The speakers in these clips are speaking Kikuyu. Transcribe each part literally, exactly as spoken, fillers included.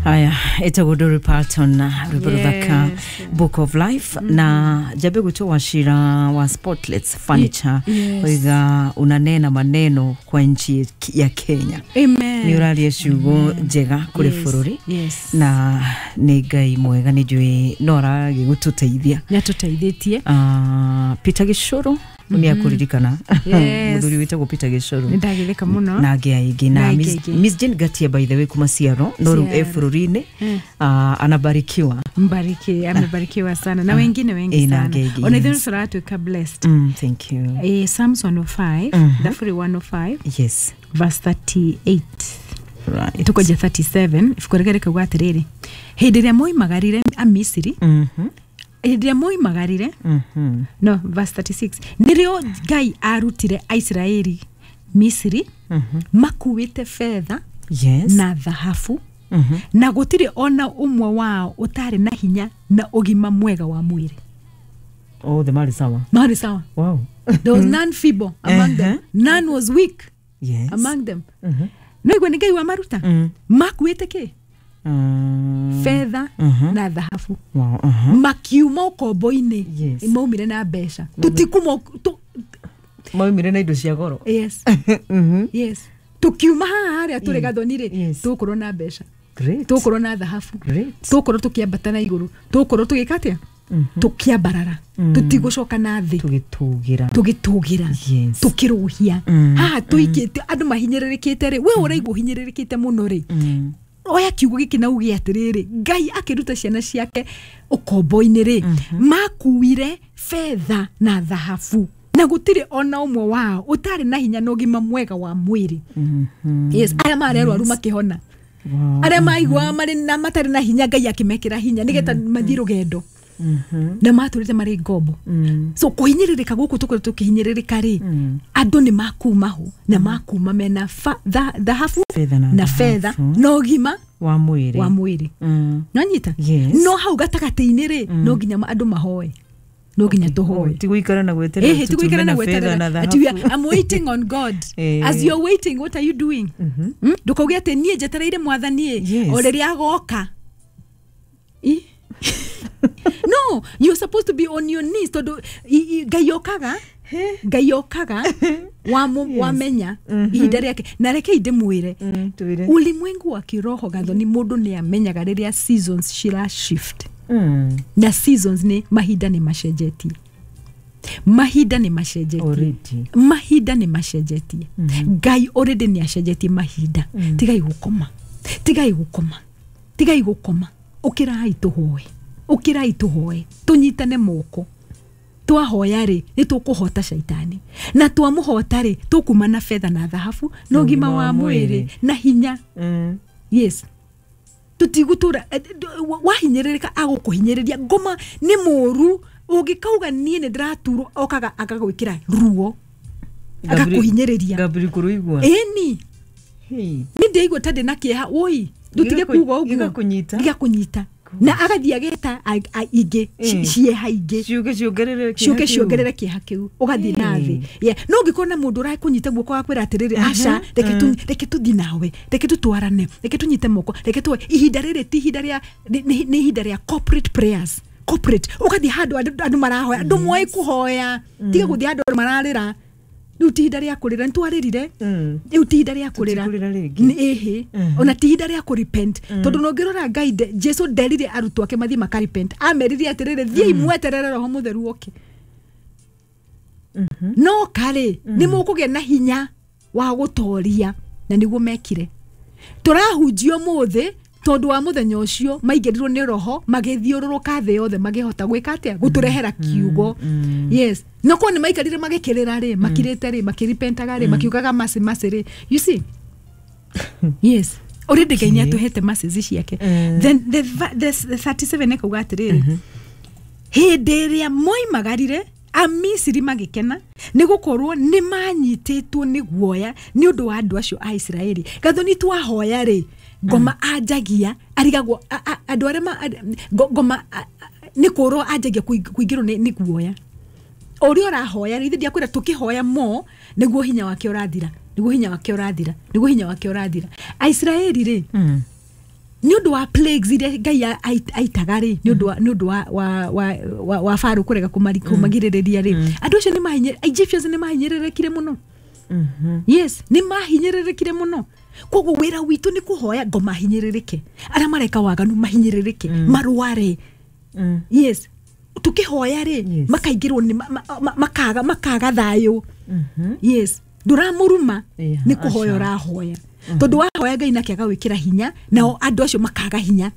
Haya, etagwo Dolly Parton na rwĩmbo rũthaka Book of Life. Na njambe gwĩtwo Wachira wa Spotless Furniture. Yes. Oiga unanena maneno kwa nchi ya Kenya. Amen. Nĩ ũraria ciugo njega kũrĩ Yes. bũrũri. Yes. Na nĩ Ngai mwega, nĩ njũĩ no aragĩgũtũteithia. Nĩ atũteithĩtie. Ah, Peter Gĩcũrũ nĩ akũririkana. Yes. Mũthuri wĩtagwo Peter Gĩcũrũ Nĩ ndagĩtheka mũno. Na angĩ aingĩ na Na angĩ Miss, aingĩ. Miss Jane Gatia, by the way, kuma Ciaro, no rĩu e Ciaro. bũrũri-inĩ. Mm. Ah, anabarikiwa. Mbariki, amebarikiwa sana na wengine wengi Eh, na sana. angĩ aingĩ, Ona ithuĩ yes. tũratuĩka blessed. mm, thank you. Eh, Psalms one oh five, Thaburi one oh five, yes verse thirty-eight. Right tukoja thirty-seven, ibuku rĩrĩa rĩkauga atĩrĩrĩ, hĩndĩ ĩrĩa moimagarire Amisiri, Mhm, hĩndĩ ĩrĩa moimagarire, mhm. no, verse thirty-six, nĩrĩo Ngai arutire Aisiraeli Misiri makuĩte betha yes na thahabu, Mhm. na gũtirĩ ona ũmwe wao ũtarĩ na hinya na ũgima mwega wa mwĩrĩ. Oh, the mali sawa. Marĩ sawa. Wow. There was none feeble among them, none was weak yes among them. Mhm. No igua nĩ Ngai wamaruta Mm. makuĩte kĩ? Mm. Betha Mhm. na thahabu. Wow, uh-huh. Makiuma ũkombo-inĩ. Yes. Maumire na mbeca, tũtikuma tu- Maumire na indo cia goro. Yes. Mhm. Yes, tukiuma haha harĩa tũrĩ gathoni rĩ, Yes. tũgũkorwo na mbeca, Great. tũgũkorwo na thahabu, Great. tũgũkorwo tũkĩambata na igũrũ, tũgũkorwo tũgĩka atĩa? Tũkĩambarara, tũtigũcoka na thĩ. Tũgĩtũgĩra. Tũgĩtũgĩra. Yes. Tũkĩrũhia. Mm. Haha tũikĩte andũ mahinyĩrĩrĩkĩte rĩ, we ũraigua ũhinyĩrĩrĩkĩte mũno rĩ, Mm. oya kiugo gĩkĩ na uge atĩrĩrĩ, Ngai akĩruta ciana ciake ũkombo-inĩ rĩ, makuire betha na thahabu, na gũtirĩ ona ũmwe wao ũtarĩ na hinya na ũgima mwega wa mwĩrĩ. Mhm. Yes, arĩa marĩ arwaru makĩhona, Wow. arĩa maiguaga marĩ na matarĩ na hinya, Ngai akĩmekĩra hinya nĩgetha mathiĩ rũgendo, Mhm. na matũrĩte marĩ ngombo. Mm. So kũhinyĩrĩrĩka gũkũ tũkoretwo tũkĩhinyĩrĩrĩka rĩ, Mm. andũ nĩ makuma ho na makuma mena fa- tha- thahabu Betha na na betha thahabu. na ũgima wa mwĩrĩ. Wa mwĩrĩ. Mm. Nonyita? Yes. No hau gatagatĩ-inĩ rĩ, no nginya ma- andũ mahoe, no nginya tũhoe. Ti gũikara na gweterera. Ĩhĩ, ti gũikara na tutume betha gweterera na ati we thahabu. are- I'm waiting on God. Eh. As you're waiting, what are you doing? Mm? Ndũkauge atĩ niĩ njetereire Mwathani ĩ, Yes. o rĩrĩa agoka. Ĩ? No, you're supposed to be on your knees, tondũ i- i- Ngai okaga, Ngai okaga wamu- wamenya ihinda rĩake. Na rekei ndĩmwĩre, Mm, twĩre. ulimwengu wa kiroho, Gathoni, mũndũ nĩ amenyaga rĩrĩa seasons cira shift. Mm. Na seasons nĩ mahinda nĩ macenjetie, mahinda nĩ macenjetie. Already. Mahinda nĩ macenjetie. Ngai already nĩ acenjetie mahinda. Tigai gũkoma, tigai gũkoma, tigai gũkoma. Ũkĩrai tũhoe, ũkĩrai tũhoe, tũnyitane moko. Twahoya rĩ, nĩ tũkũhota caitani, na twamũhota rĩ, tũkuma na betha na thahabu na ũgima wa mwĩrĩ na hinya. Mm. Yes, tũtigũtũra eh, d- wa- wahinyĩrĩrĩka, agũkũhinyĩrĩria. Ngoma nĩ mũru, ũngĩkauga niĩ nĩ ndĩraturwo, okaga agagwĩkĩra ruo, agakũhinyĩrĩria. Gabri kũrũigua. Ĩni. Hey. Nĩ ndĩigua ta ndĩ na kĩeha, woi, ndũtige Gĩgakũ- kuga ũguo. Gĩgakũnyita. Gĩgakũnyita na agathiĩ ageta a- a- ingĩ ci- Mm. cieha ingĩ. Ciũke ciongerere kĩeha Ciũke kĩu. ciongerere kĩeha kĩu, ũgathiĩ na thĩ. Mm. Yeah. No ũngĩkorwo na mũndũ ũrakũnyita guoko akwĩra atĩrĩrĩ, aca, reke tu- reke tũthiĩ nawe, reke tũtwarane, reke tũnyite moko, reke tuwe ihinda rĩrĩ ti ihinda rĩa nĩ- nĩ nĩ ihinda rĩa corporate prayers, corporate. Ũgathiĩ handũ andũ andũ marahoya, andũ moĩ kũhoya. Tiga gũthiĩ handũ andũ mararĩra. Rĩu ti ihinda rĩa kũrĩra, nĩ twarĩrire. Mm. Rĩu ti ihinda rĩa kũrĩra. Tũtikũrĩra rĩngĩ. Nĩ- ĩhĩ, ona ti ihinda rĩa kũrepent, tondũ nongĩrora Ngai nde- Jesu nderire arutwo ake mathiĩ makarepent, amerire atĩrĩrĩ, thiĩi mweterere Roho Mũtheru oke. No karĩ nĩ mũkũgĩa na hinya wa gũtoria, na nĩguo mekire. Tũrahunjia ũmũthĩ tondũ wa mũthenya ũcio maingĩrirwo nĩ Roho, magĩthiũrũrũka thĩ yothe, magĩhota gwĩka atĩa? Gũtũrehera kiugo. Yes, no korwo nĩ maikarire magĩkĩrĩra rĩ, makirĩte rĩ, makĩrepentaga rĩ, makiugaga mercy, mercy rĩ, you see? Yes, already Ngai nĩ atũhete mercies ciake. Mm. Then the, va- the, the thirty-seven ĩkauga atĩrĩrĩ, hĩndĩ ĩrĩa moimagarire, Amisiri magĩkena, nĩ gũkorwo nĩ manyitĩtwo nĩ guoya nĩ ũndũ wa andũ acio a Isiraeli. Gathoni, twahoya rĩ, ngoma anjagia arigagwo a- a- andũ arĩa ma- a- ngo- ngoma a- a- nĩ kũrwo anjagia kũing- kũingĩrwo nĩ nĩ guoya o ũrĩa ũrahoya rĩ. Ithe ndiakwĩra, tũkĩhoya mo nĩguo hinya wake ũrathira, nĩguo hinya wake ũrathira, nĩguo hinya wake ũrathira. Aisiraeli rĩ, Mm. Nĩ ũndũ wa plagues iria Ngai a- ait- aitaga rĩ, nĩ ũndũ wa- nĩ ũndũ wa- wa- wa- wa- wa Farao kũrega kũmari- kũmagirĩrĩria rĩ, andũ acio nĩ mahinye- Egyptians nĩ mahinyĩrĩrĩkire mũno. Yes, nĩ mahinyĩrĩrĩkire mũno. Koguo wĩra witũ nĩ kũhoya ngo mahinyĩrĩrĩke, arĩa mareka waganu mahinyĩrĩrĩke, marware. Yes, tukĩhoya rĩ, Yes. makaingĩrwo nĩ ma- ma- ma- makaga makaga thayũ. Yes, ndũramũruma, Yeah, nĩ kũhoya aca. ũrahoya, tondũ wahoya Ngai nake agawĩkĩra hinya, nao andũ acio makaga hinya.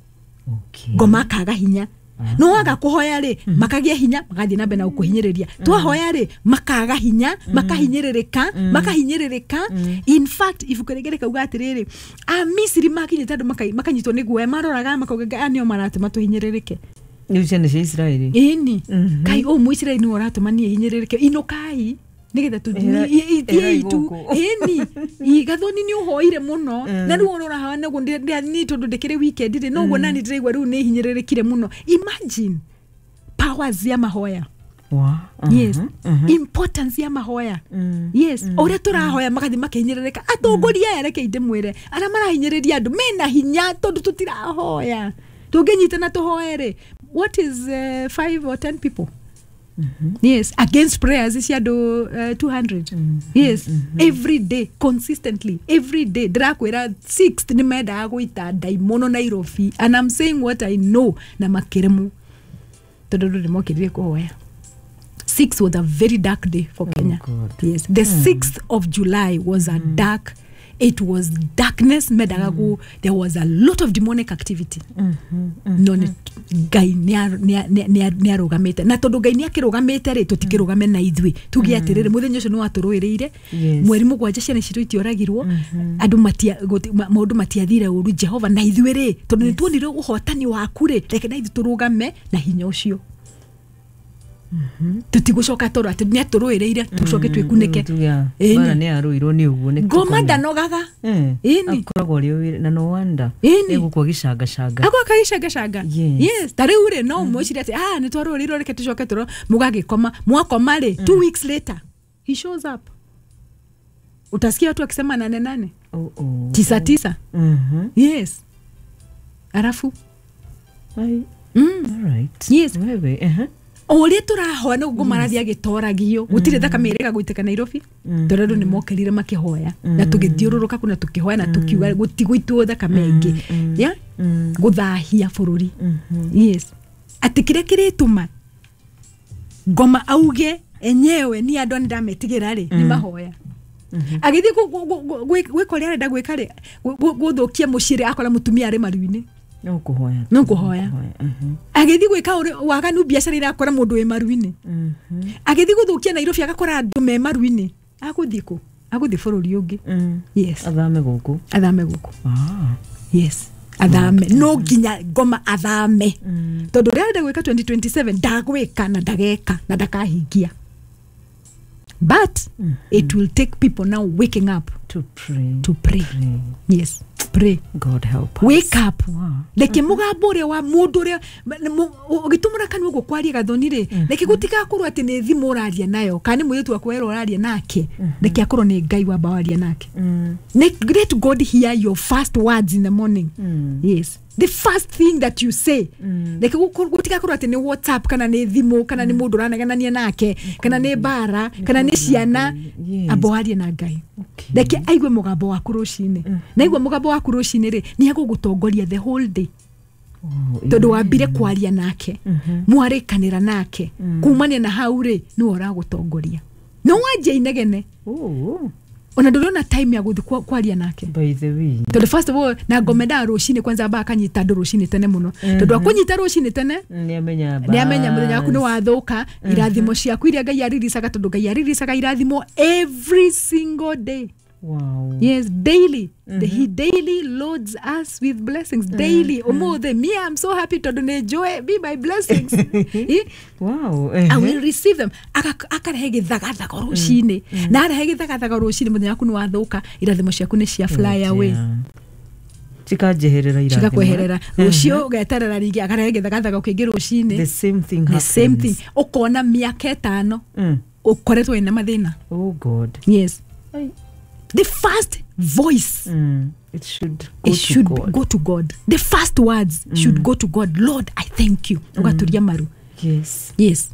Okay. Ngoma akaga hinya. No waga kũhoya rĩ, makagĩa hinya, magathiĩ na mbere na gũkũhinyĩrĩria. Twahoya rĩ, makaga hinya, makahinyĩrĩrĩka, makahinyĩrĩrĩka. In fact, ibuku rĩngĩ rĩkauga atĩrĩrĩ, Amisiri makinyĩte andũ maka- makanyitwo nĩ guoya, maroraga makauga, "Aya nĩo maratũma tũhinyĩrĩrĩke." Rĩu ciana cia Isiraeli. Ĩni, kai ũũ Mũisiraeli nĩwe ũratũma niĩ hinyĩrĩrĩke, inũkai nĩgetha Ĩra- ĩrai tũthiĩ tu. gũkũ. Ĩni, Gathoni, nĩ ũhoire mũno na rĩu ũrora haha naguo ni tondũ ndĩkĩrĩ weekend rĩ, noguo nani ndĩraigua rĩu nĩ hinyĩrĩrĩkire mũno. Imagine powers ya mahoya. Wa. Yes, importance ya mahoya. Yes, o ũrĩa tũrahoya magathiĩ makihinyĩrĩrĩka. Atongoria aya, reke ndĩmwĩre, arĩa marahinyĩrĩria andũ mena hinya tondũ tũtirahoya. Tũngĩnyitana tũhoe rĩ, what is uh, five or ten people, yes, against prayers cia andũ uh, two hundred? Yes, every day, consistently every day. Ndĩrakwĩra, sixth nĩ mendaga gũita ndaimono Nairobi, and I'm saying what I know, na makĩremwo tondũ andũ nĩ mokĩrire kũhoya. Six was a very dark day for Kenya. God. Yes, the sixth of July was a dark, it was darkness. Mendaga gu there was a lot of demonic activity, no nĩ Ngai nĩ arũgamĩte, na tondũ Ngai nĩ akĩrũgamĩte rĩ, tũtikĩrũgame na ithuĩ tuge atĩrĩrĩ, mũthenya ũcio nĩ watũrũĩrĩire. Yes. Mweri mũgwanja ciana citũ itioragirwo, andũ matia gũti- ma- maũndũ matiathire ũru. Jehova, na ithuĩ rĩ, tondũ nĩ tuonire ũhotani waku rĩ, reke na ithuĩ tũrũgame na hinya ũcio. Tũtigũcoka toro atĩ nĩ atũrũĩrĩire tũcoke twĩkunĩke. Ĩni. Bara nĩ arũirwo nĩ ũguo nĩ Ngoma tũkome. ndanogaga. Eh, Ĩni. akoragwo arĩ o wĩra na no wonder Ĩni. egũkua gĩcangacanga. Agwa kagĩcangacanga. Yes. Yes, ta rĩu rĩ, no mwĩcire atĩ ah, nĩ twarũĩrĩirwo, reke tũcoke tũro mũgagĩkoma. Mwakoma rĩ, two weeks later he shows up. Utasikia watu wakisema nane nane, Oh, oh. tisa tisa. Mhm. Yes, arafu Ai, mm. alright. Yes. Wewe, ehe. O ũrĩa tũrahoya nĩguo marathiĩ agĩtoragio. Gũtirĩ thakame ĩrega gũitĩka Nairobi, tondũ andũ nĩ mokĩrire makĩhoya na tũgĩthiũrũrũka kũu na tũkĩhoya na tũkiuga gũtigũitwo thakame ĩngĩ ya gũthahia bũrũri. Yes, atĩ kĩrĩa kĩrĩtũma ngoma auge enyewe ni andũ nĩ ndametigĩra rĩ, nĩ mahoya. Agĩthiĩ gũ- gũ- gũ- gwĩ- gwĩka ũrĩa arenda gwĩka rĩ, gũ- gũ- gũthũkia mũciĩ rĩ, akora mũtumia arĩ maru-inĩ. No kũhoya. No kũhoya. Mhm. Agĩthiĩ gwĩka ũrĩa- waganu biacara irakora mũndũ wĩ maru-inĩ. Mhm. Agĩthiĩ gũthũkia Nairobi agakora andũ me maru-inĩ. Agũthiĩ kũ? Agũthiĩ bũrũri ũngĩ. Mm. Yes. Athame gũkũ. Athame gũkũ. Ah. Yes, athame. No nginya ngoma athame, tondũ ũrĩa arenda gwĩka twenty twenty-seven ndagwĩka na ndageka na ndakahingia, but it will take people now waking up To pray. to pray. Pray. Yes, pray. God help us. Wake up. Wow. Reke mũgambo ũrĩa wa mũndũ ũrĩa ũgĩtũmũra kanua ũguo kwaria, Gathoni rĩ, reke gũtigakorwo atĩ nĩ thimũ ũraria nayo kana nĩ mũirĩtu waku werwo ũraria nake. Reke akorwo nĩ Ngai wamba waria nake. Mm. Let let God hear your first words in the morning. Mm. Yes, the first thing that you say. Reke gũkorwo- gũtigakorwo atĩ nĩ WhatsApp kana nĩ thimũ kana nĩ mũndũ ũranegenania nake kana nĩ mbara kana nĩ ciana. Yes. Amba warie na Ngai. Okay. Reke aigue mũgambo waku rũcinĩ. Na aigua mũgambo waku rũcinĩ rĩ, nĩ egũgũtongoria the whole day, Oh, tondũ wambire kwaria nake, mwarĩkanĩra nake. Kumania na hau rĩ, nĩwe ũragũtongoria. No wanjia inegene, Oh, ona ndũrona time ya gũthiĩ kwa- kwaria nake. By the way. Tondũ first of all, na ngome ndaa rũcinĩ kwanza amba akanyita andũ rũcinĩ tene mũno, tondũ akũnyita rũcinĩ tene, Nĩ amenya. nĩ amenya mũthenya waku nĩ wathũka. Irathimo ciaku iria Ngai ariricaga, tondũ Ngai ariricaga irathimo every single day. Wow. Yes, daily. The, he daily loads us with blessings. Daily. Umuthi, me, I'm so happy tondũ nĩ njũĩ be my blessings. Eh? Wow. I will receive them. Aka- Akarehe gĩthagathago rũcinĩ. Na arehe gĩthagathago rũcinĩ, mũthenya waku nĩ wathũka, irathimo ciaku nĩ cia fly away. Cikanjeherera irathimo. Cigakweherera. Rũciũ ũgeterera rĩngĩ, akarehe gĩthagathago kĩngĩ rũcinĩ. The same thing The happens. same thing. Ũkona mĩaka ĩtano Mm. ũkoretwo wĩna mathĩna. Oh God. Yes. Ai. The first voice, Mm. It should go it to should God. go to God. The first words mm. should go to God. Lord, I thank you. Ugaturia maru. Yes. Yes.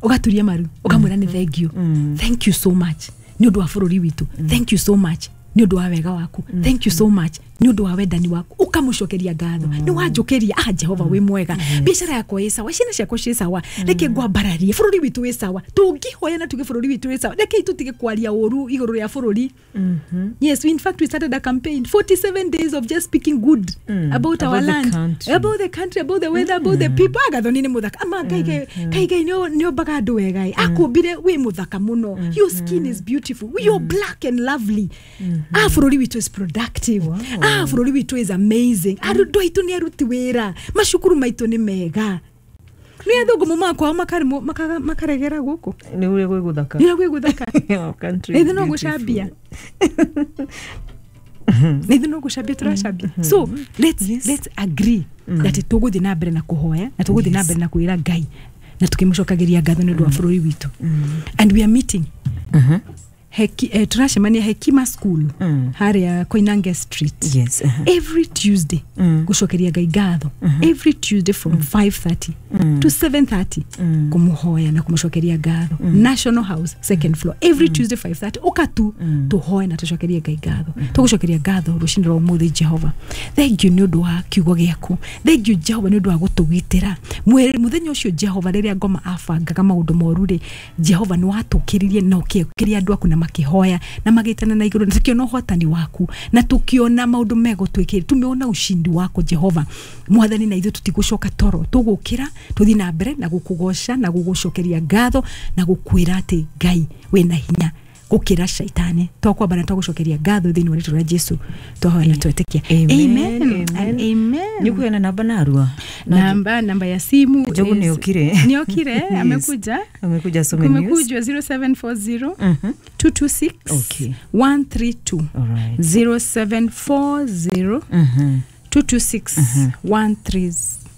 Ugaturia maru. Ukamwira ni thank you. Mm. Thank you so much. Ni undu wa bururi witu. Mm. Thank you so much. Ni undu wa wega waku. Mm. Thank you so much. Ni undu wa wendani waku. Ukamucokeria ngatho. Mm. Ni wanjukiria, ah Jehova wi mwega. Yes. Biacara yakwa ĩ sawa, ciana ciakwa ciĩ sawa. Reke ngwambararie bururi witu wĩ sawa. Tungihoya na tuge bururi witu wĩ sawa. Reke tutige kwaria ũru igũrũ rĩa bururi. Mm-hmm. Yes, we in fact we started a campaign, forty-seven days of just speaking good mm. about our about the land, country. about the country, about the weather, about the people. Agathoni ni muthaka. Ama Ngai Ngai Ngai nio niombaga andu wega. Akumbire wi muthaka muno. Your skin is beautiful. You're black and lovely. Ah, bururi witu is productive. Wow. Ah, bururi witu is amazing. Arutwo aitu ni aruti wira. Macukuru maitu ni mega. Ni athungu mumakwa makarimo makaregera guku. Ni uria gwi guthaka. Ni uria gwi guthaka. Our country. Ni no gucambia. Ni no gucambia turacambia. So let's yes. let's agree mm. that tuguthi na mbere na kuhoya na tuguthi na mbere na kwira Ngai na tukimucokagiria ngatho ni undu wa bururi witu. And we are meeting. Mhm. Heki, eh, turacemania Hekima School mm. haria Koinange Street. Yes, uh-huh. Every Tuesday mm. gucokeria Ngai ngatho. Mm-hmm. Every Tuesday from mm. five thirty mm. to seven thirty mm. kumuhoya na kumucokeria ngatho. Mm. National House second floor every mm. Tuesday five thirty ukatu mm. tuhoe na tucokerie Ngai ngatho. Mm. Tugucokeria ngatho rucini rwa umuthi Jehova. Thank you ni undu wa kiugo giaku. Thank you Jehova ni undu wa gutugitira. Muthenya ucio Jehova riria ngoma abangaga maundu moru ri Jehova ni watukiririe na ukiukiria andu aku na makihoya na magitana na iguru na tukiona uhotani waku na tukiona maundu mego twikire tumeona ushindi wako Jehova mwathani na ithuĩ tutigucoka toro tugukira tuthi na mbere na gukugoca na gugucokeria ngatho na gukwira ati Ngai wina hinya gukira shaitani twakwamba na twagucokeria ngatho thiini wa ritwa rĩa Jesu twahoya na twetikia. Amen. Amen. Amen. Nikuena namba narua namba namba ya simu Jogu niokire niokire. Amekuja amekuja some news kumekuja zero seven four zero mm-hmm. two two six okay. one three two. All right. zero seven four zero mm-hmm. two two six mm-hmm. one three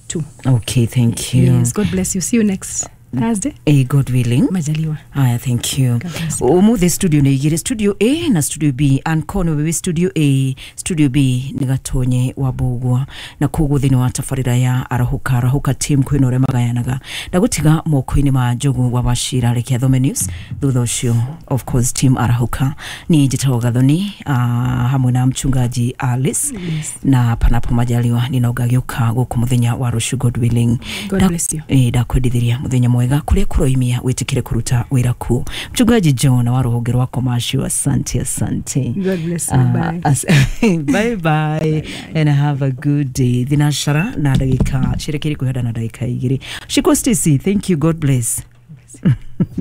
two. Okay, thank you. Yes, God bless you. See you next Thursday. Eh, God willing. Majaliwa. Aya, thank you. Umuthi studio ni igiri, studio A na studio B. Ankono wewe studio A, studio B ni Gatonye wa Bugwa. Na koguo thini wa tabarira ya Arahuka, Arahuka team kwina uria magayanaga. Na gutiga moko-ini ma Njogu wa Wachira reke athome news. Thutha ucio, of course, team Arahuka ni njitagwo Gathoni, uh, hamwe na mchungaji Alice. Yes. Na panapo majaliwa ninaugagiuka guku muthenya wa rucio, God willing. God bless you. Eh, ndakwendithiria muthenya mwega kuria kuroimia witikire kuruta wira ku mchungaji John wa ruhonge rwa commercial. Asante, asante. God bless you. Uh, bye. As, bye bye. Bye and have a good day. Thinashara na ndagika cirekeri kuhenda na ndagika igiri. Shiko Stacy, thank you. God bless.